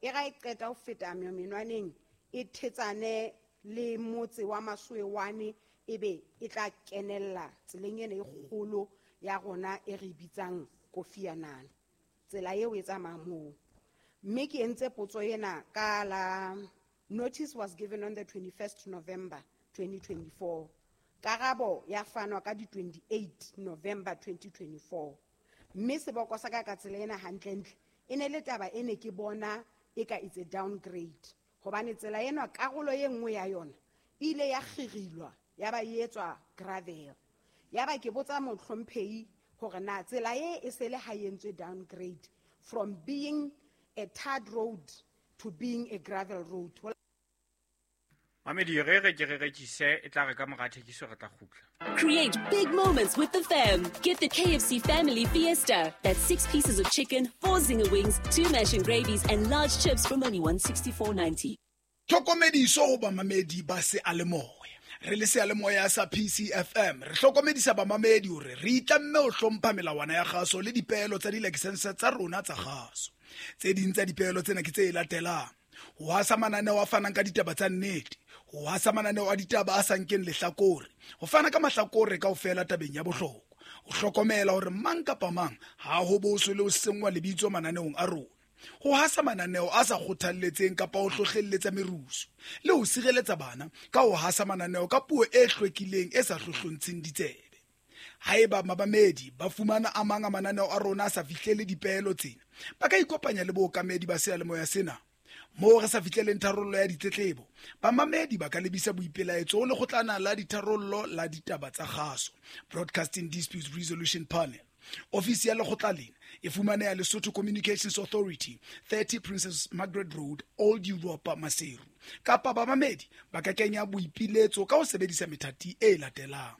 E ra e qeta ho feta menwaneng, e thetsane le motse wa Masuewane, ebe e tla kenella tseleng ena e kgolo ya rona e re bitsang Kofi Annan. Tsela eo e tsamaya moo. Mme ke entse potso ena ka la notice was given on the 21st November 2024. Karabo ya fanwa ka di 28 November 2024. Mme seboko sa ka ka tsela ena hantlentle e ne le taba e ne ke bona e ka it's a downgrade. Hobane tsela ena karolo e nngwe ya yona e ile ya kgirilwa ya ba e etswa gravel. Ya ba ke botsa mohlomphehi hore na tsela e e se le ha e entswe downgrade from being a tarred road to being a gravel road. Mamedi, re re ke re rekise, e tla re ka mora thekiso re tla kgutla. Create big moments with the fam. Get the KFC Family Fiesta. That's 6 pieces of chicken, 4 zinger wings, 2 mash and gravies, and large chips from only $164.90. Tlhokomediso ho bamamedi ba seyalemoya. Re le seyalemoya sa PCFM, re hlokomedisa bamamedi hore re itlamme ho hlompha melawana ya kgaso le dipeelo tsa dilakesense tsa rona tsa kgaso. Tse ding tsa dipeelo tsena ke tse latelang: ho hasa mananeo a fanang ka ditaba tsa nnete, ho hasa mananeo a ditaba a sa nkeng lehlakore, ho fana ka mahlakore kaofela tabeng ya bohlokwa, ho hlokomela hore mang kapa mang ha ho boswe le ho senngwa lebitso mananeong a rona, ho hasa mananeo a sa kgothalletseng kapa ho hlohlelletsa merusu, le ho sireletsa bana ka ho hasa mananeo ka puo e hlwekileng e sa hlohlontsheng ditsebe. Haeba mamamedi ba fumana a mang a mananeo a rona a sa fihlele dipeelo tsena, ba ka ikopanya le bookamedi ba seyalemoya sena. Moo re sa fihleleng tharollo ya ditletlebo, bamamedi ba ka lebisa boipelaetso ho lekgotlana la ditharollo la ditaba tsa kgaso, Broadcasting Disputes Resolution Panel. Ofisi ya lekgotla lena e fumaneha Lesotho Communications Authority, 30 Princess Margaret Road, Old Europa, Maseru. Kapa bamamedi ba ka kenya boipiletso ka ho sebedisa methati e latelang: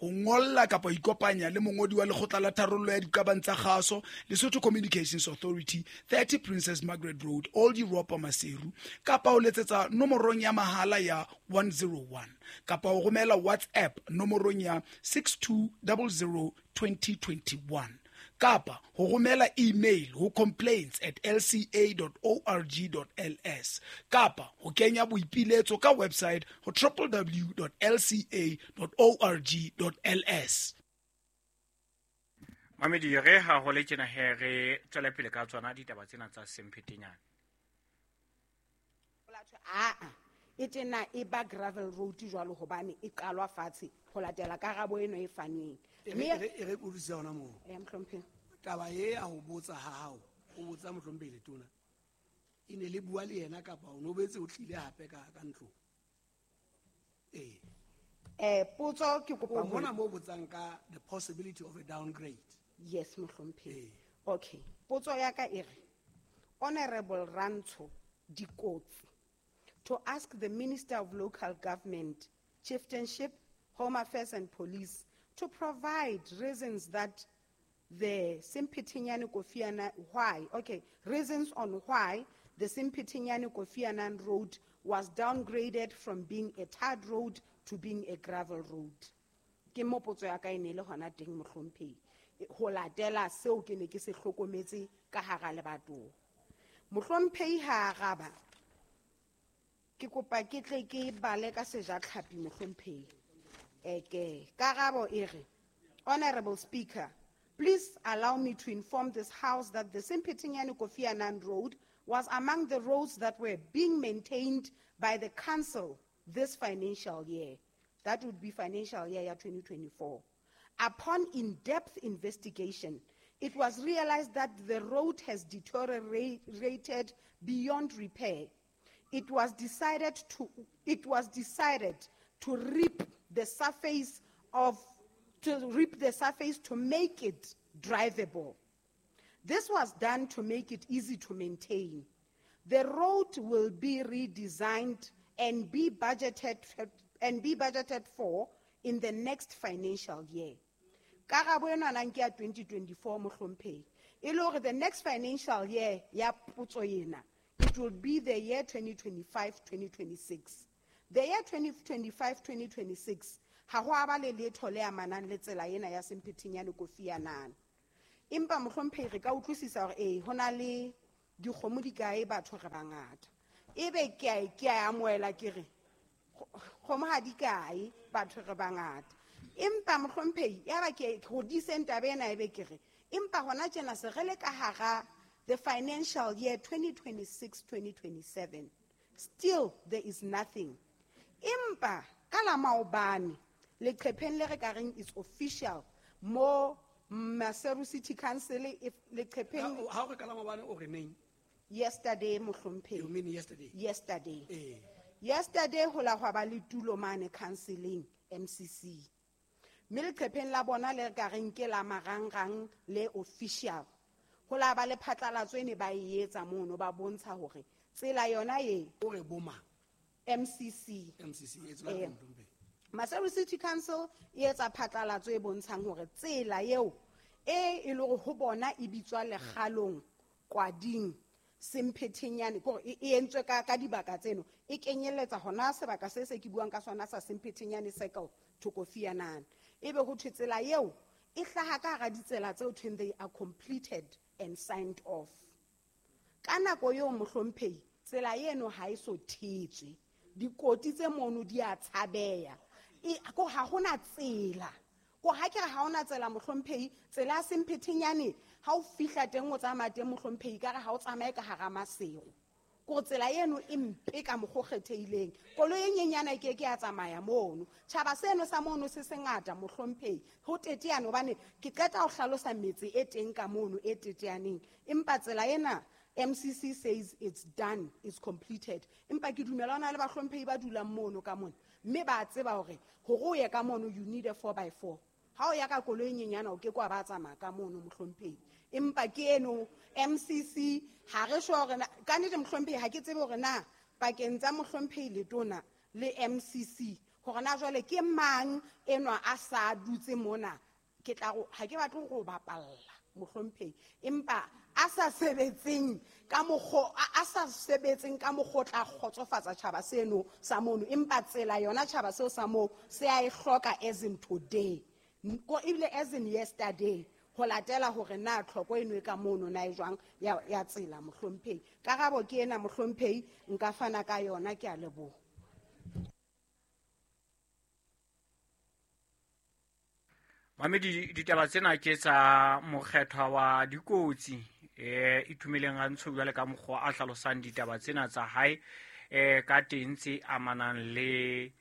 ho ngolla kapa ho ikopanya le mongodi wa lekgotla la tharollo ya diqabang tsa kgaso, Lesotho Communications Authority, 30 Princess Margaret Road, Old Europa, Maseru, kapa ho letsetsa nomorong ya mahala ya 101, kapa ho romela WhatsApp nomorong ya 6200 2021, kapa ho romela email ho complaints@lca.org.ls, kapa ho kenya boipiletso ka website ho www.lca.org.ls. Mamedi, re ha ho le tjena he, re tswele pele ka tsona ditaba tsena tsa Semphetenyane. Aa, e tena e ba gravel road jwalo hobane e qalwa fatshe ho latela karabo eno e fanweng. E re utlwisisa hona moo. Eh, mohlomphehi. Taba e ya ho botsa ha hao, o botsa mohlomphehi Letona, e ne le bua le yena kapa o no boetse o tlile hape ka ntlong? Ee. Potso ke kopa O mona moo botsang ka the possibility of a downgrade. Yes, mohlomphehi. Ee. Okay. Potso ya ka e re, Honorable Rantsho Dikotsi, to ask the Minister of Local Government, Chieftainship, Home Affairs and Police to provide reasons that the Semphetenyane Kofi Annan, why, okay, reasons on why the Semphetenyane Kofi Annan Road was downgraded from being a tarred road to being a gravel road. Ke mo potso ya ka e ne le hona teng, mohlomphehi. Ho latela seo ke ne ke se hlokometse ka hara lebatowa. Mohlomphehi ha araba, ke kopa ke tle ke bale ka sejatlhapi, mohlomphehi. Eke, karabo e re, Honorable Speaker, please allow me to inform this House that the Semphetenyane Kofi Annan Road was among the roads that were being maintained by the council this financial year. That would be financial year 2024. Upon in-depth investigation, it was realized that the road has deteriorated beyond repair. It was decided to rip the surface of, to rip the surface to make it drivable. This was done to make it easy to maintain. The road will be redesigned and be budgeted for in the next financial year. Karabo ena nang ke ya 2024, mohlomphehi. E le hore the next financial year ya potso ena, it will be the year 2025-2026. The year 2025-2026, ha ho a ba le letho le amanang le tsela ena ya Semphetenyane Kofi Annan. Empa mohlomphehi, re ka utlwisisa hore ho na le Dikgomo di kae, batho re bangata. Ebe ke a amohela ke re kgomo ha di kae, batho re bangata. Empa mohlomphehi ya ba ke hodiseng taba ena, ebe ke re empa hona tjena se re le ka hara the financial year 2026-2027, still there is nothing. Empa ka la maobane leqepheng le re ka reng is official mo Maseru City Council, if leqepheng Ha o re ka la maobane o re neng? Yesterday, mohlomphehi. You mean yesterday? Yesterday. Yesterday ho la hwa ba le tulo mane counseling MCC. Mme leqepheng la bona le re ka reng ke la marangrang le official. Ho la ba le phatlalatso e ne ba e etsa mono, ba bontsha hore tsela yona e O re bo mang? MCC. MCC e tswela pele, mohlomphehi. Maseru City Council e etsa phatlalatso e bontshang hore tsela eo e le hore ho bona e bitswa Lekgalong Kwading Semphethenyane, ke hore e entswe ka dibaka tseno, e kenyelletsa hona sebaka se se ke buang ka sona sa Semphethenyane Circle Thokofianana. Ebe ho thwe tsela eo e hlaha ka hara ditsela tseo thweng they are completed and signed off. Ka nako eo mohlomphehi tsela eno ha e so thetswe, dikoti tse mono di a tshabeha. Ko ha hona tsela. Ko ha ke re ha hona tsela mohlomphehi, tsela ya Semphethenyane ha o fihla teng o tsamaya teng mohlomphehi, ka re ha o tsamaye ka hara Maseru. Ko tsela eno e mpe ka mokgwa o kgethehileng. Koloi e nyenyana e ke ke ya tsamaya mono. Tjhaba seno sa mono se sengata mohlomphehi. Ho teteane hobane ke qeta ho hlalosa metse e teng ka mono e teteaneng. Empa tsela ena MCC says it's done, it's completed. Empa ke dumela hona le bahlomphehi ba dulang mono ka mona. Mme ba tseba hore hore o ye ka mono you need a four by four. Ha o ya ka koloi e nyenyana o ke ke wa ba tsamaya ka mono mohlomphehi. Empa ke eno MCC ha re sure hore na, ka nnete mohlomphehi ha ke tsebe hore na pakeng tsa mohlomphehi Letona le MCC hore na jwale ke mang enwa a sa dutse mona. Ke tla go, ha ke batle go bapalla mohlomphehi, empa a sa sebetseng ka mokgo, a sa sebetseng ka mokgo o tla kgotsofatsa tjhaba seno sa mono, empa tsela yona tjhaba seo sa moo se a e hloka as in today, ko ebile as in yesterday, ho latela hore na tlhoko eno e ka mono na e jwang ya tsela mohlomphehi. Karabo ke ena mohlomphehi, nka fana ka yona, ke a leboha. Mamedi, ditaba tsena ke tsa mokgethwa wa dikotsi, Itumeleng Rantsho jwale ka mokgwa a hlalosang ditaba tsena tsa hae, ka teng tse amanang le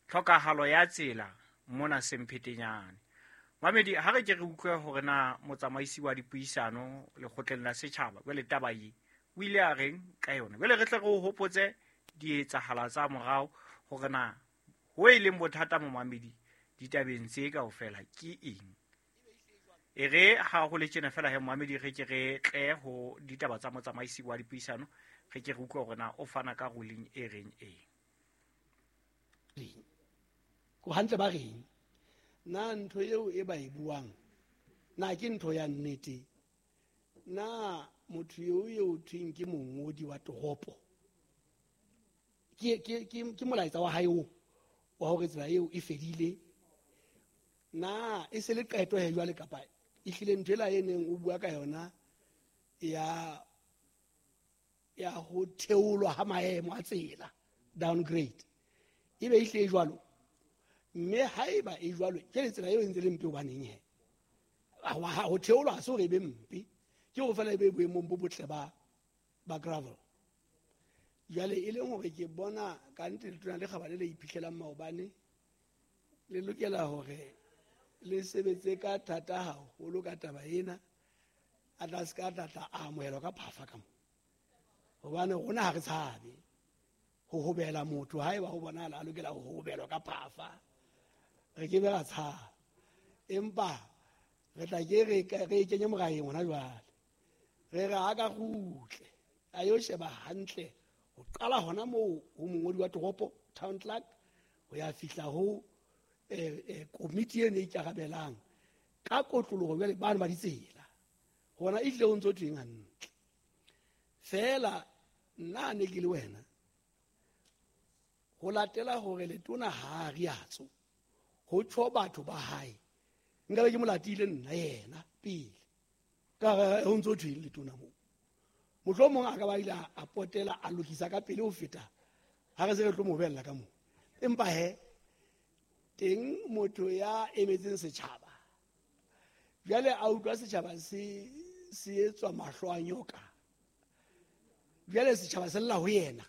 tlhokahalo ya tsela mona Semphetenyane. Mamedi, ha re ke re utlwe hore na motsamaisi wa dipuisano lekgotleng la setjhaba jwale taba e o ile a reng ka yona. Jwale re tle re o hopotse dietsahala tsa morao hore na ho e leng bothata mo mamedi ditabeng tse kaofela ke eng. E re ha ho le tjena fela he momamedi, re ke re tle ho ditaba tsa motsamaisi wa dipuisano, re ke re utlwe hore na o fana ka ruling e reng eng. Ko hantle ba reng? Na ntho eo e ba e buang, na ke ntho ya nnete? Na motho eo eo thweng ke mongodi wa toropo? Ke molaetsa wa hae oo wa hore tsela eo e fedile? Na e se le qeto he jwale, kapa e hlile ntho ela e neng o bua ka yona ya ho theolwa ha maemo a tsela, downgrade, e be e hlile jwalo? Mme haeba e jwalo, ke le tsela eo e ntse le mpe hobaneng he? Ho theolwa ha se hore e be mpe, ke hore feela e be boemong bo botle ba gravel. Jwale e leng hore ke bona ka nnete letona le kgabane le iphitlhelang maobane le lokela hore le sebetse ka thata haholo ka taba ena, a tla se ka tla tla amohelwa ka phafa ka mo. Hobane rona ha re tshabe ho hobela motho, haeba ho bonahala a lokela ho hobelwa ka phafa, re ke be ra tshaba. Empa re tla ke re kenye moraheng hona jwale, re re a ka kgutle a yo sheba hantle ho qala hona moo ho mongodi wa toropo, town clerk, ho ya fihla ho komiti eno e ikarabelang ka kotloloho jwale bano ba ditsela, hona e hlile ho ntso thweng hantle. Feela nna ne ke le wena, ho latela hore letona ha a riatso ho tjho batho ba hae, nka be ke mo latile nna yena pele, ka re ho ntso thweng letona moo. Mohlomong a ka ba ile a potela a lokisa ka pele ho feta ha re se re tlo mo bella ka moo. Empa he teng motho ya emetseng setjhaba jwale a utlwa setjhaba se etswa mahlo a nyoka, jwale setjhaba se lla ho yena.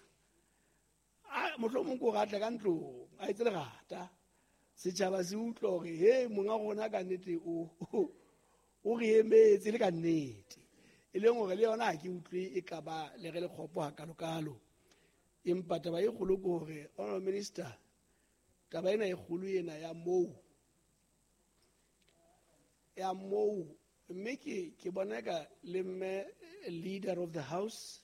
Mohlomong ko re atle ka ntlong a etse lerata, setjhaba se utlwa hore he monga rona ka nnete o re emetse le ka nnete. E leng hore le yona ha ke utlwe e ka ba le re le kgopo hakalokalo. Empa taba e kgolo ke hore honorable minister, taba ena e kgolo ena ya moo mme ke bona ka le mme leader of the house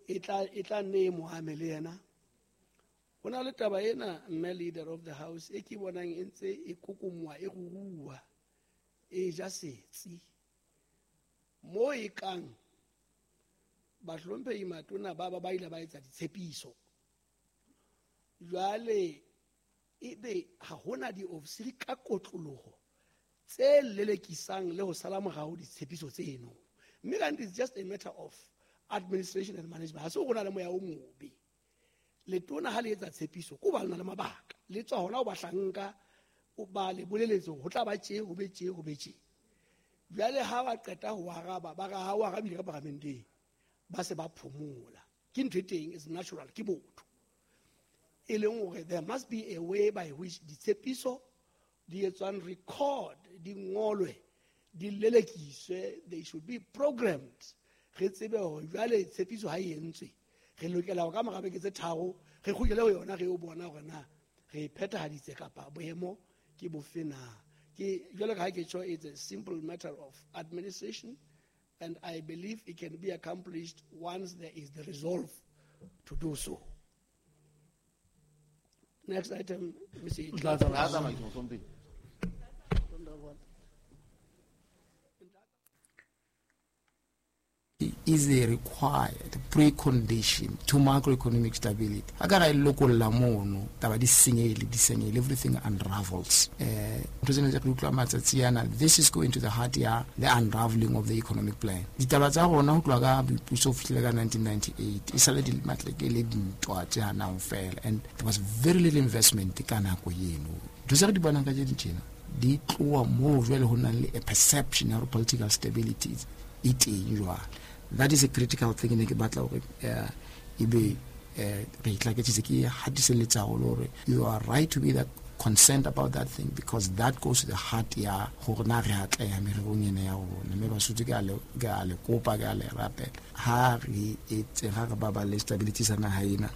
e tla nne e mo ame le yena. Ho na le taba ena mme leader of the house e ke bonang e ntse e kokomoa e ruruwa e ja setsi mo e kang bahlomphehi matona ba ile ba etsa ditshepiso. Jwale ebe ha hona diofisiri ka kotloloho tse lelekisang le ho sala morao ditshepiso tseno. Mme kanti it's just a matter of administration and management. Ha se ho na le moya o mobe. Letona ha le etsa tshepiso ko ba lona le mabaka. Le tswa hona ho bahlanka o ba le boleletse ho tla ba tje ho be tje ho be tje. Jwale ha ba qeta ho araba ba ra ha o arabile ka paramenteng ba se ba phomola. Ke ntho e teng, is natural, ke botho. E leng hore there must be a way by which ditshepiso di etswang record, di ngolwe, di lelekiswe, they should be programmed. Re tsebe hore jwale tshepiso ha e entswe re lokela ho ka mora beke tse tharo re kgutlele ho yona re o bona hore na re phethahaditse kapa boemo ke bofe na. Ke jwalo ka ha ke tjho, it's a simple matter of administration and I believe it can be accomplished once there is the resolve to do so. Next item, Mr. Is a required precondition to macroeconomic stability. Akara lokolla mono taba di senyehile, everything unravels. This is going to the heart ya the unraveling of the economic plan. Ditaba tsa rona ho tloha ka boipuso ho fihlela ka 1998 e sale di matleke le dintwa tse hanang fela, and there was very little investment ka nako eno. Ntho tse re di bonang ka tjena di tloha moo jwale ho nang le a perception ya political stability e teng jwale. That is a critical thing ne ke batla hore ebe re itlaketsitse ke hatiselletsa haholo hore you are right to be that concerned about that thing because that goes to the heart ya hore na re atleha mererong ena ya rona. Mme Basotho ke a le kopa, ke a le rapela, ha re etse ha re baballe stability sa naha ena.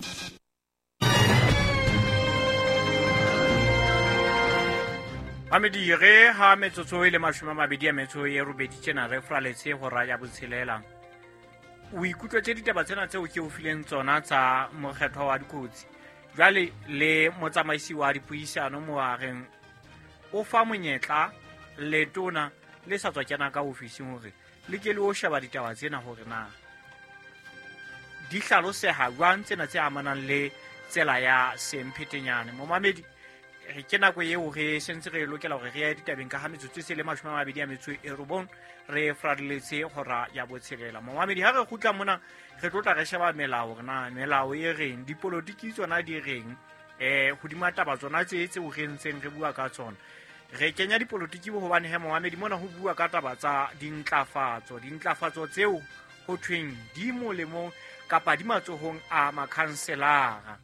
Mamedi re ha metsotso e le 28 tjena re fraletse hora ya botshelela. O ikutlwetse ditaba tsena tseo ke o fileng tsona tsa mokgethwa wa dikotsi. Jwale le motsamaisi wa dipuisano moareng o fa monyetla letona le sa tswa kena ka ofising hore le ke le o sheba ditaba tsena hore na di hlaloseha jwang tsena tse amanang le tsela ya Semphetenyane. Momamedi ke nako eo re sentse re lokela hore re ye ditabeng ka ha metsotso e se le 29 re fradiletse hora ya botshelela. Momamedi ha re kgutla mona re tlo tla re sheba melao hore na melao e reng, dipolotiki tsona di reng, hodima taba tsona tse tseo re ntseng re bua ka tsona. Re kenya dipolotiki hobane he momamedi mona ho bua ka taba tsa dintlafatso tseo ho thweng di molemong kapa di matsohong a makhanselara.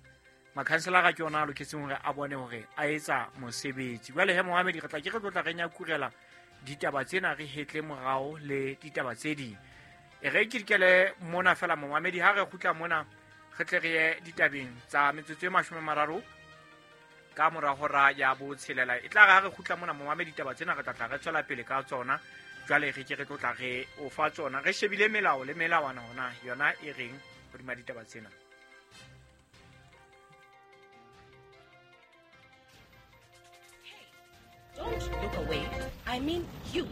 Makhanselara ke yona a loketseng hore a bone hore a etsa mosebetsi. Jwale he Mohamedi re tla ke re tlo tla re nyakurela ditaba tsena re hetle morao le ditaba tse ding. E re ke dikele mona fela Mohamedi ha re kgutla mona re tle re ye ditabeng tsa metsotso e 30 ka mora hora ya botshelela. E tla re ha re kgutla mona Mohamedi ditaba tsena re tla tla re tswela pele ka tsona. Jwale re ke re tlo tla re o fa tsona re shebile melao le melawana hona yona e reng hodima ditaba tsena. Don't look away. I mean you.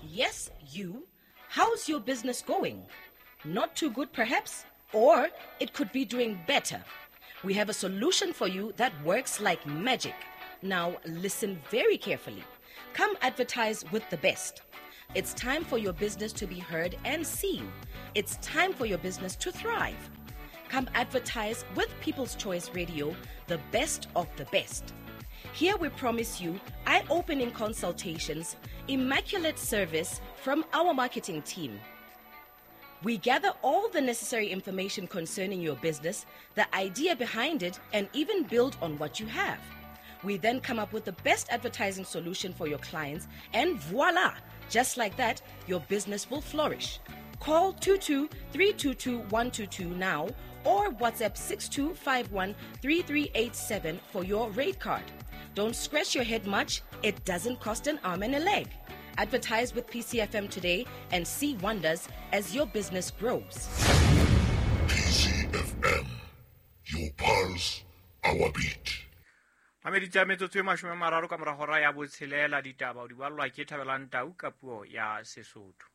Yes, you. How's your business going? Not too good, perhaps? Or it could be doing better. We have a solution for you that works like magic. Now, listen very carefully. Come advertise with the best. It's time for your business to be heard and seen. It's time for your business to thrive. Come advertise with People's Choice Radio, the best of the best. Here we promise you eye opening consultations, immaculate service from our marketing team. We gather all the necessary information concerning your business, the idea behind it, and even build on what you have. We then come up with the best advertising solution for your clients, and voila! Just like that, your business will flourish. Call 22 322 122 now or WhatsApp 6251 3387 for your rate card. Don't scratch your head much, it doesn't cost an arm and a leg. Advertise with PCFM today and see wonders as your business grows. PCFM, your pulse, our beat. Mamedi tsa metsotso e 30 ka mora hora ya botshelela, ditaba o di ballwa ke Thabelang Tau ka puo ya Sesotho.